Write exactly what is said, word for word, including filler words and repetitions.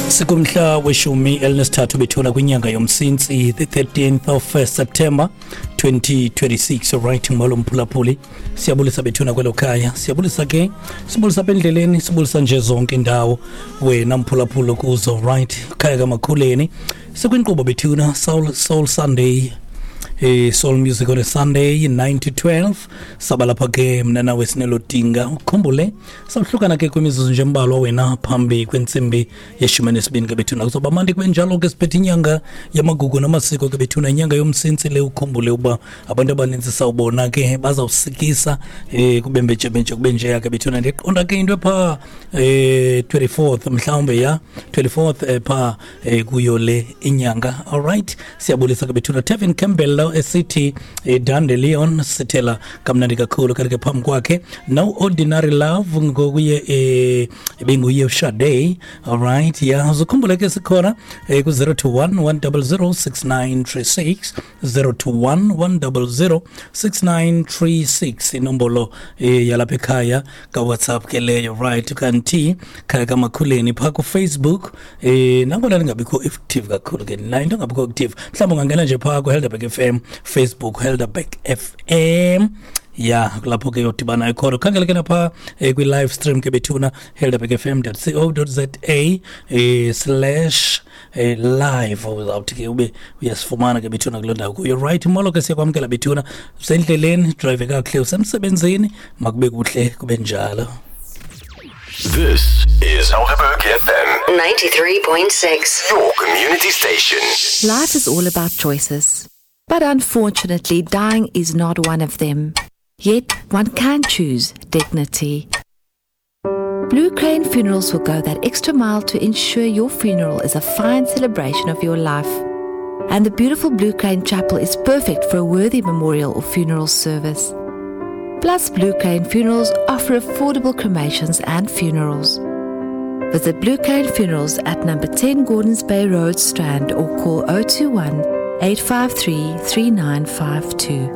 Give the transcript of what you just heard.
Sikumhla weshumi elinesithathu bethuna kwinyanga yoMsintsi, the thirteenth of September twenty twenty-six. Right, molo mphulaphuli, siyabulisa bethuna kwelo khaya, siyabulisa ke, sibulisa apha endleleni, sibulisa nje zonke indawo wena mphulaphuli kuzo. Right, khaya kaMakhuleni, sikwinkqubo bethuna Soul, Soul Sunday, eh Soul Music on a Sunday, nine to twelve. Saba lapha ke mna nawe sinelodinga. Ukhumbule sawuhlukana ke kwimizuzu nje embalwa wena phambi kwentsimbi yeshumi nesibini ke bethuna. Kuzoba mandi kube njalo ke. Siphethe inyanga yamagugu namasiko ke bethuna, inyanga yoMsintsi le. Ukhumbule uba abantu abaninzi sawubona ke bazawusikisa eh kube mbetshebentshe, kube njeya ke bethuna. Ndiqonda ke into epha eh twenty-fourth mhlawumbe, ya, twenty-fourth eh, pha eh, kuyo le inyanga. Alright, siyabulisa ke bethuna. Tevin Campbell lo esithi eh, Dandelion, sithela kamnandi kakhulu. Kanti ke phambi kwakhe No Ordinary Love ngokuye eh benguye uSade. Alright, ya, uzukhumbule ke sikhona eh, ku zero two one, one zero zero, six nine three six, zero two one, one zero zero, six nine three six, inombolo eh, yalapha ekhaya ka WhatsApp ke leyo. Right, kanti khaya kaMakhuleni pha ku Facebook, eh nangona lingabikho active kakhulu ke la into, ngabikho active, mhlawumbe ungangena nje pha ku Helderberg F M Facebook, Helderberg F M, ya, kulapho ke yodibana ikhona. Khangele ke napha eh, kwi-live stream ke bethuna, helderberg F M dot co dot za eh, slash eh, live, uzawuthi ke ube uyasifumana ke bethuna kuloo ndawo kuyo. Right, molo ke, siyakwamkela bethuna. Usendleleni, drive kakuhle, usemsebenzini, makube kuhle kube njalo. This is Helderberg F M ninety-three point six. Your community station. Life is all about choices. But unfortunately, dying is not one of them. Yet, one can choose dignity. Blue Crane Funerals will go that extra mile to ensure your funeral is a fine celebration of your life. And the beautiful Blue Crane Chapel is perfect for a worthy memorial or funeral service. Plus, Blue Crane Funerals offer affordable cremations and funerals. Visit Blue Crane Funerals at number ten Gordons Bay Road, Strand, or call zero two one, eight five three, three nine five two.